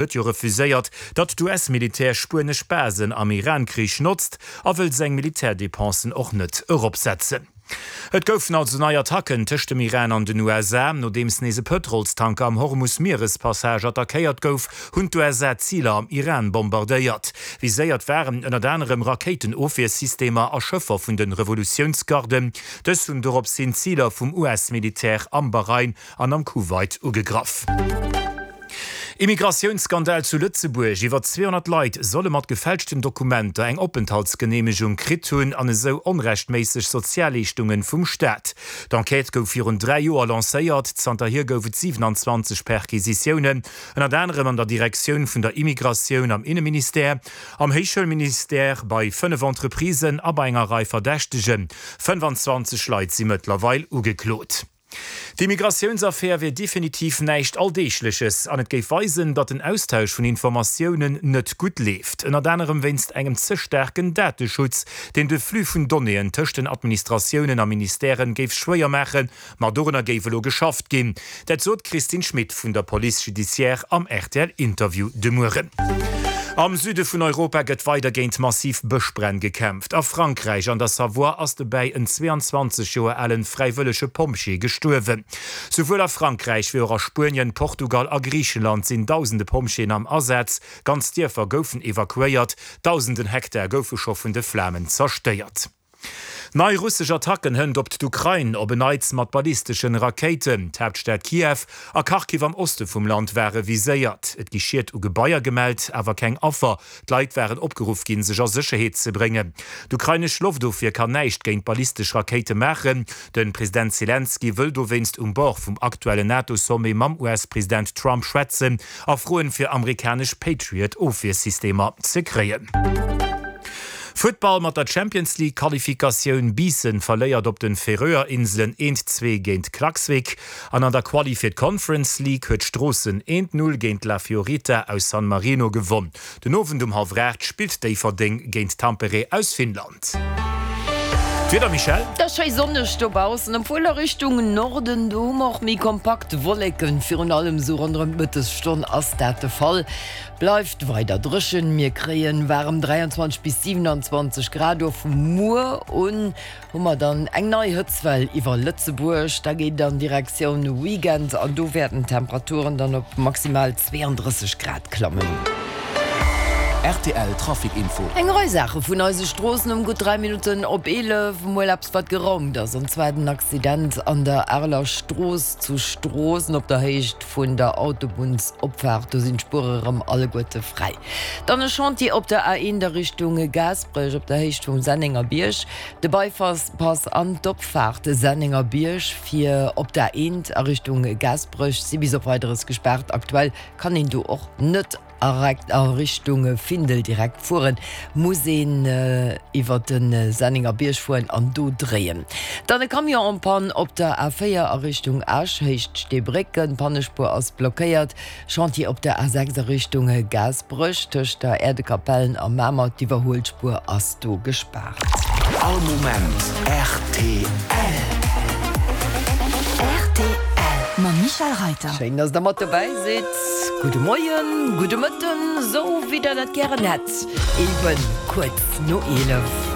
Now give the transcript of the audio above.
Huet jo refuséiert, datt d'US-Militär spuenesch Basen am Iran-Krich notzt a wëll seng Militärdepensen och net eropsetzen. Et goufen also nei Attacken tëscht dem Iran an den USA. Nodeems nees e Pëtrolstanker am Hormus-Mierespassage attackéiert gouf, hunn d'USA Ziler am Iran bombardéiert. Viséiert waren ënnert anerem Rakéitenofwiersystemer a Schëffer vun de Revolutiounsgarden. Dës hunn dorops hin Ziler vum US-Militär am Bahrain an am Kuwait ugegraff. Immigratiounsskandal zu Lëtzebuerg, Iwwer 200 Leit solle mat gefälschten Dokumenter eng Openthaltsgeneemegung kritt hunn an esou onrechtméisseg Sozialleeschtungen vum Staat. D'Enquête gouf virun 3 Joer lancéiert. Zanterhier gouf et 27 Perquisitiounen, ënnert anerem an der Direktioun vun der Immigratioun am Inneministère, am Héichschoulministère, bei 5 Entreprisen a bei enger Rei Verdächtegen. 25 Leit si mëttlerweil ugeklot. D'Immigratiounsaffär wier definitiv näischt Alldeegleches an et géif weisen, datt den Austausch vun Informatiounen net gutt leeft. Ënnert anerem wéinst engem ze staarken Dateschutz, deen de Flux vun Donnéeën tëscht den Administratiounen a Ministèren géif schwéier maachen. Ma dorunner géif elo geschafft ginn. Dat sot d'Christine Schmit vun der Police judiciaire am RTL-Interview de Mueren. Am Süde vun Europa gëtt weider géint massiv Bëschbränn gekämpft. A Frankräich, an der Savoie, ass dobäi en 22 Joer alen fräiwëllege Pompjee gestuerwen. Souwuel a Frankräich wéi och a Spuenien, Portugal a Griichenland sinn dausende Pompjeeën am Asaz. Ganz Dierfer goufen evakuéiert, dausenden Hektar goufe scho vun de Flamen zerstéiert. Nei russesch Attacken hënt op d'Ukrain, op en Neits mat ballisteschen Rakéiten. D'Haaptstad Kiew a Kharkiv am Oste vum Land ware viséiert. Et gi Schied u Gebaier gemellt, awer keng Affer. D'Leit waren opgeruff ginn, sech a Sécherheet ze bréngen. D'ukrainesch Loftofwier kann näischt géint ballistesch Rakéite maachen. De President Selenskyj wëll dowéinst um Bord vum aktuellen NATO-Sommet mam US-President Trump schwätzen a froen, fir amerikanesch Patriot-Ofwiersystemer ze kréien. Futtball, Mat der Champions League Qualifikatioun, Biissen verléiert op den Färöer Inselen 1, 2 géint Klaksvik an an der Quali fir d'Conference League huet Stroossen 1, 0 géint La Fiorita aus San Marino gewonn. Den Owend um hallwer 8 spillt Déifferdeng géint Tampere aus Finnland. D'Wieder, Michèle? Et ass schéi sonneg dobaussen, obwuel a Richtung Norden, do hu mer och méi kompakt Wolleken. Virun allem esou ronderëm d'Mëttesstonn ass dat de Fall. Bleift weider dréchen, mir kréien waarem 23 bis 27 Grad. Och vu muer un hu mer dann eng nei Hëtztwell iwwer Lëtzebuerg. Da geet et an Direktioun Weekend an do wäerten d'Temperaturen dann op maximal 32 Grad klammen. Rtl Trafic Info. Eng Rei Saache vun eise Stroossen um gutt 3 Minutten op 11. Mol eppes wat geraumt ass, an zwar den Accident an der Areler Strooss zu Stroossen op der Héicht vun der Autobunnsopfaart, do sinn d'Spuere rëm alleguerte fräi. Dann e Chantier op der A1 a Richtung Gaasperech op der Héicht vum Sennengerbierg. De Bypass an d'Opfaart Sennengerbierg fir op d'A1 a Richtung Gaasperech si bis op Weideres gespaart. Aktuell kann een do och net a Richtung Findel direkt fueren, muss een iwwer de Senningerbierg fueren an do dréien. Dann e Camion en panne op der A4 a Richtung Esch, Héicht Steebrécken, d'Pannespuer ass blockéiert. Chantier op der A6 a Richtung Gaasperech, tëscht der Äerdekapellen a Mamer, d'Iwwerhuelspuer ass do gespaart. All Moment rtl. Rtl mam Michèle Reiter. Schéin, dass der mat dobäi sidd. Gudde Moien, gudde Mëtten, sou wéi der dat gären hätt, eben kuerz no 11.